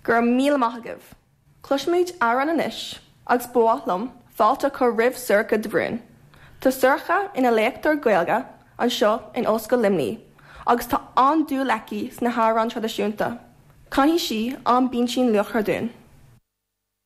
Go raibh míle maith agaibh! Cloisfimid amhrán anois agus ba mhaith liom fáilte a chur roimh Sorcha de Brún. Tá Sorcha ina léachtóir Gaeilge anseo in Ollscoil Luimnigh agus tá an-dúil aici sna hamhráin traidisiúnta. Canfaidh sí An Bintín Luachra dúinn.